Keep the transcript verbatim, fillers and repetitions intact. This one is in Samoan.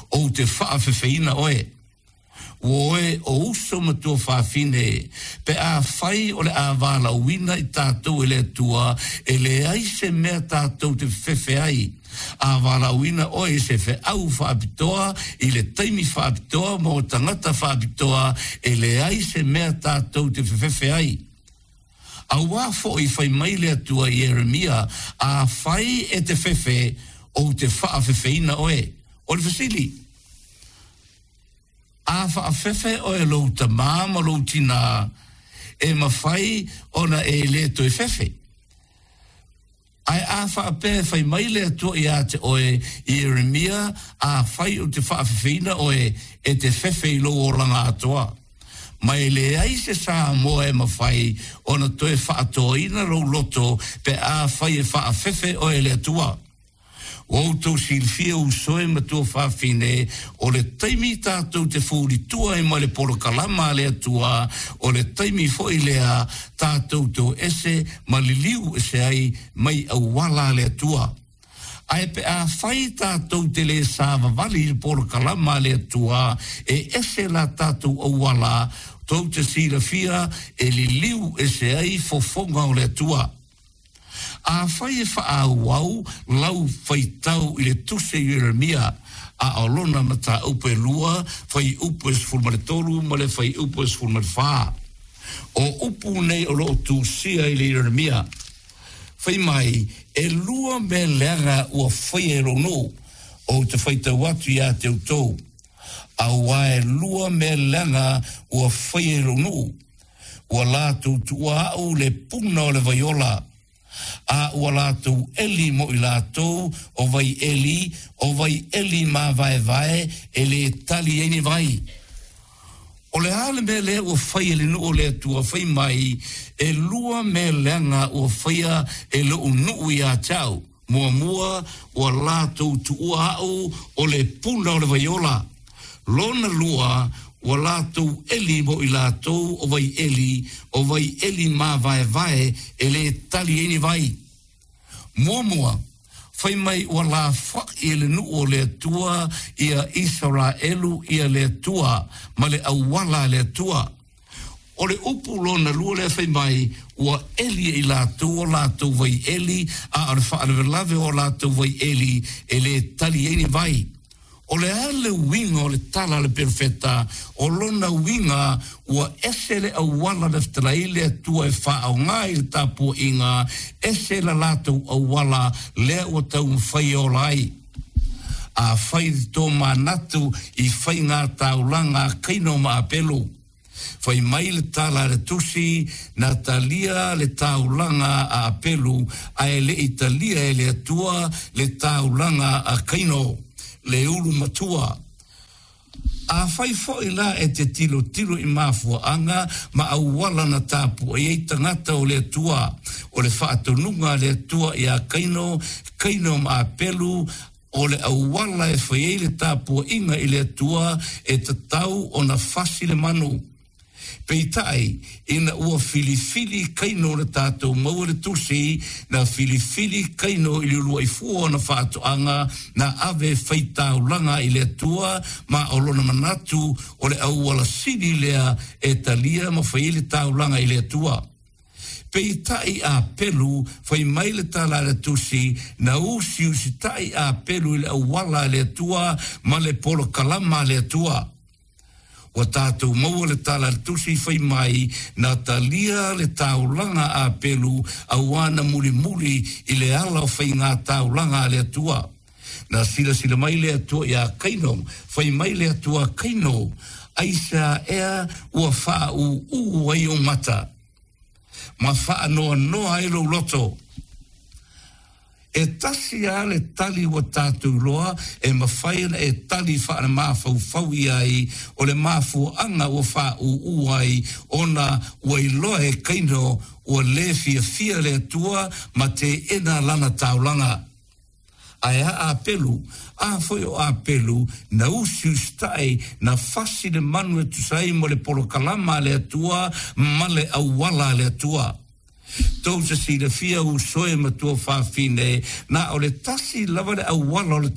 Ou te faafefeina oe. Ua oe o uso ma tuafafine, pe afai o le a valaauina i tatou e le Atua, e leai se mea tatou te fefefe ai. A valaauina oe i se feau faapitoa, i le taimi faapitoa mo tagata faapitoa, e leai se mea tatou te fefefe ai. Auā foi fai mai le Atua i Ieremia, afai e te fefe, ou te faafefeina oe. O le fesili, a faafefe oe lou tamā ma lou tinā, e mafai ona e le toe fefe. Ae a faapea fai mai le Atua ia te oe, Ieremia, afai ou te faafefeina oe, e te fefe i lou olaga atoa. Ma e leai se Samoa e mafai ona toe faatoaina lou loto pe afai e faafefe oe le Atua. Ua outou silafia uso e ma tuafafine, o le taimi tatou te fulitua ai ma le polokalama a le Atua, o le taimi foi lea tatou te o ese ma liliu ese ai mai auala a le Atua. Ae pe afai tatou te le savavali i le polokalama a le Atua, e ese la tatou auala, tou te silafia e liliu ese ai fofoga o le Atua. Afai e faaauau lau faitau i le tusi a Ieremia, a o lona mataupu e lua, fuaiupu e sefulu ma le tolu ma le fuaiupu e sefulu ma le fa. O upu nei o loo tusia i le Ieremia. Fai mai, e lua mea leaga ua faia e lou nuu, ou te faitau atu ia te outou. Auā e lua mea leaga ua faia e lou nuu. Ua latou tuua a'u le puna o le vai ola, a ua latou eli mo i latou o vai eli, o vai eli mavaevae e lē tali ai ni vai. O le a le mea lea ua faia e le nuu o le Atua? Fai mai, e lua mea leaga ua faia e lou nuu ia te au. Muamua, ua latou tuua a'u o le puna o le vai ola. Lona lua, ua latou eli mo i latou o vai eli, o vai eli mavaevae e lē tali ai ni vai. Muamua, fai mai ua lafa'i e le nuu o le Atua ia Isaraelu ia le Atua ma le auala a le Atua. O le upu lona lua lea fai mai, ua eli e i latou o latou vai eli, a o le faalavelave o latou vai eli e lē tali ai ni vai. O le a le uiga o le tala a le perofeta? O lona uiga ua ese le auala na fetalai ai le Atua e faaaogā i le tapuaiga, ese la latou auala lea ua taumafai e ola ai. Afai te tomanatu i faiga taulaga a Kaino ma Apelu. Fai mai le tala a le tusi, na talia le taulaga a Apelu, ae le i talia e le Atua le taulaga a Kaino, le ulu matua. Afai foi la e te tilotilo i mafuaaga ma auala na tapuai ai tagata o le Atua, o le faatonuga a le Atua ia Kaino, Kaino ma Apelu, o le auala e fai ai le tapuaiga i le Atua e tatau ona fasi le manu. Peitai, ina ua filifili Kaino na tatou maua le tusi, na filifili Kaino i le uluai fua o ona faatoaga na ave e fai taulaga i le Atua, ma o lona manatu o le auala sili lea e talia ma fai ai le taulaga i le Atua. Peitai Apelu, fai mai le tala a le tusi, na usiusitai Apelu i le auala a le Atua ma le polokalama a le Atua. Ua tatou maua le tala a le tusi fai mai, na talia le taulaga a Apelu auā na mulimuli i le ala o faiga taulaga a le Atua. Na silasila mai le Atua iā Kaino, fai mai le Atua, Kaino, aisea ea ua faaūū ai ou mata, ma faanoanoa ai lou loto? E tasi lava le tali ua tatou iloa e mafai ona e tali faalemafaufau i ai, o le mafuaaga ua faaūū ai ona ua iloa e Kaino ua lē fiafia le Atua ma teena lana taulaga. Ae a Apelu? A foi o Apelu, na usiusitai, na fasi le manu e tusa ai mo le polokalama a le Atua ma le auala a le Atua. Tou te silafia uso e ma tuafafine, na o le tasi lava le auala o le